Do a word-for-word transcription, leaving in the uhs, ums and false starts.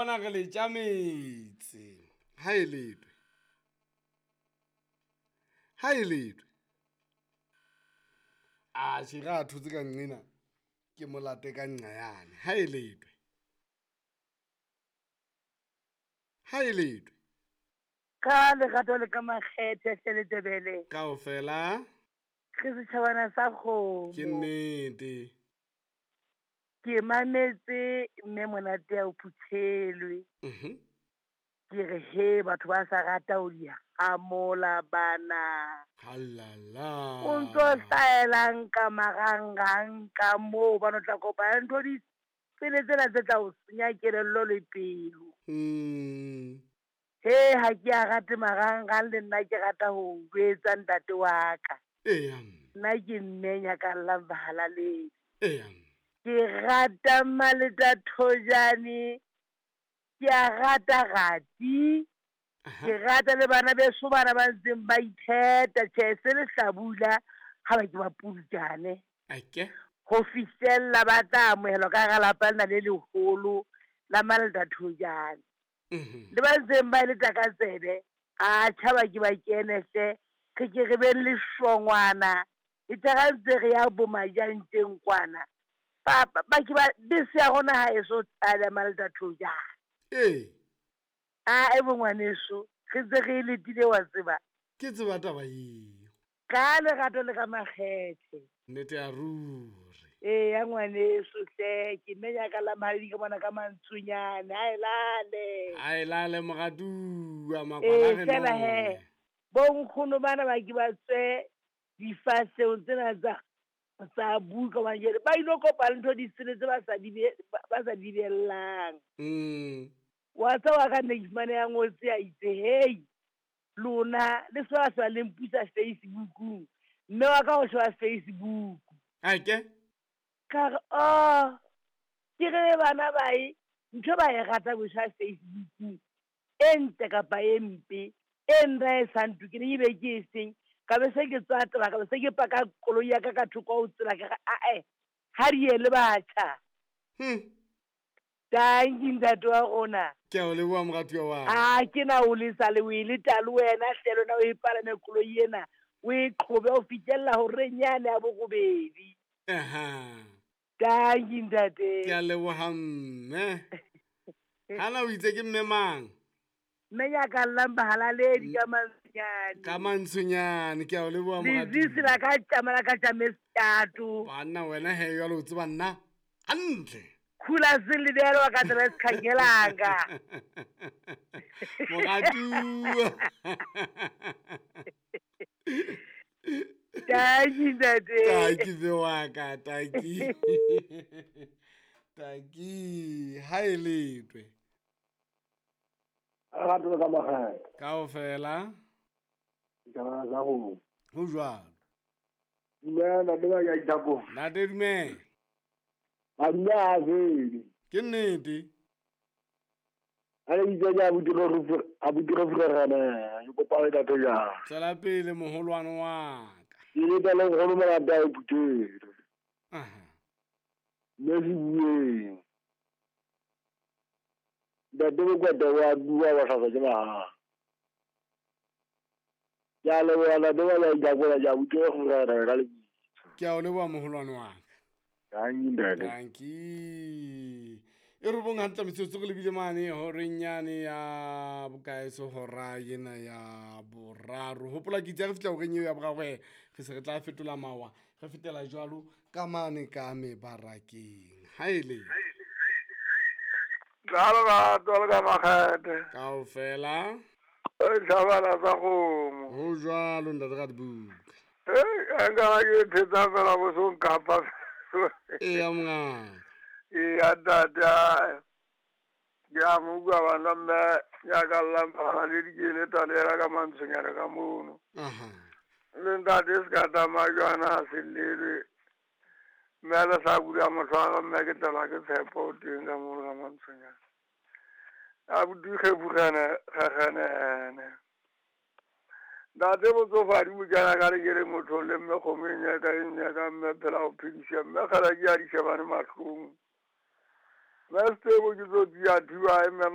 Bona re le tjametse. Ha e letwe. Ha e letwe. A tjhe re a thotse ka nqena ke molate ka nqa yane. Ha e letwe. Ha e letwe. Ka lerato le ka makgethe hle Letebele. Kaofela. Re setjhabana sa kgomo. Ke nnete. Ke mametse mme monate ya o phuthelwe. Mhm. Ke re he batho ba sa rata ho di hamola bana. Halala. O ntso hlaelang ka marangrang ka moo ba no tla kopana ntho di tsele tsena tse tla o senya kelello le pelo. Mm. He ha ke a rate marangrang le nna ke rata ho jwetsa ntate wa ka. Eya. Nna ke mme nyakallang bahalaledi. Eya. Ke rata Maleta Thojane, ke a rata Rati, ke rata le bana beso bana ba ntseng ba itheta tjhe se le hlabula ha ba ke ba pulutjane. Ake. Ho fihlella ba tla amohelwa ka hara lapa lena le leholo la Maleta Thojane. Mhm. Le ba ntseng ba leta ka tsebe, a tjhaba ke ba kene hle, re ke re beng le shongwana, e tla ntse re ya bo majanteng kwana. Ba ba ke ba bese ya rona ha e so tlale Maleta Thojane. Ee. A e bongwaneso, re ntse re e letile wa tseba. Ke tseba taba eo. Ka lerato le ka makgethe. Nnete ya ruri. Ee ya ngwaneso hle, ke mme ya ka la mahadi ke bona ka mantsonyane, ha e lale. Ha e lale moratuwa makwala Ee re fela he. none. Bo nkgono bana ba ke ba tswe difahlehong tsena tsa tsa buka hobane jwale ba ilo kopana le ntho di sele tse ba sa di be ba sa di bellang. Mm. Wa tseba wa ka nne ke fumane ya ngotse a itse hey lona le se ba sa le mpusa Facebookung. Mme wa ka o sheba Facebook. Ake. Ka re oh ke re bana ba e ntho ba e rata go sheba Facebookung. E ntle kapa e mpe e nna e sa ntokeleng ebe ke e seng. Ka be se ke tswa taba ka be se ke paka koloi ya ka ka thoko ho tsela ka re ae ha di ye le batjha. Hmm. Tanki ntate wa rona. Ke a o leboha moratuwa wa ka. A ke na o lesa le o e leta le wena hle lona o e palame koloi ena o e qhobe ho fihlella horeng yane ya borobedi. Aha. Tanki ntate. Ke a leboha mme. Hana o itse ke mme mang? Mme nyakallang bahalaledi ka mantsonyane. Ka mantsonyane ke a o leboha moratuwa. Lezisi la ka tjama la ka tjame setato. Banna wena he jwale o tseba nna hantle. Khula selebelo wa ka tsela sekhangelanga. Moratuwa. Tanki ntate. Tanki be wa ka, tanki. Tanki ha e letwe. Rato ka makgethe. Kaofela. Ditaba tsa go. Ho jwalo. Dumela ntate wa ka Ithakong. Ntate dumela. Madume a fele. Ke nnete. A le itse ke abuti re abuti re furana, ke kopa le ntate jang. Tswela pele moholwane wa ka. Ke leta le nkgono monate a e phuthele. Aha. Mme se bueng. Ntate Mokwete wa bua wa hlatswa ke mahala. Ke a leboha ntate wa ka Ithakong, ke abuti re furana ka lebitso. Ke a o leboha moholwane wa ka. Tanki ntate. Tanki. E robong hantle metsotso re lebile mane horeng yane ya bokae so hora ena ya boraro. Hopola ke itse re fihla horeng eo ya boraro he re se re tla fetola mawa re fetela jwalo ka mane ka mebarakeng. Ha e le. Ka lerato le ka makgethe. Kaofela. E tjhabana tsa kgomo. Ho jwalo ntate Radibuka. Eh, nka ke thetsa fela bo so nkapa. Eya mongaka. Eya ntate, ke a mo utlwa bana mme nyakallang bahalaledi ke le talela ka mantsonyana ka mono. Aha. Le ntate se ka tsamaya jwana a se llelwe. Mme a le sa bula matlho mme ke tlelwa ke tshepo teng ka mono ka mantsonyana. Abuti kgefugane kgaganene. Ntate botsofadi bo kena ka re ke re motho le mme kgomo e nyaka e nyaka mme phela ho phedisa mme kgala ke a di shebane mahlong. Mme setebo ke tsotsi ya thiba mme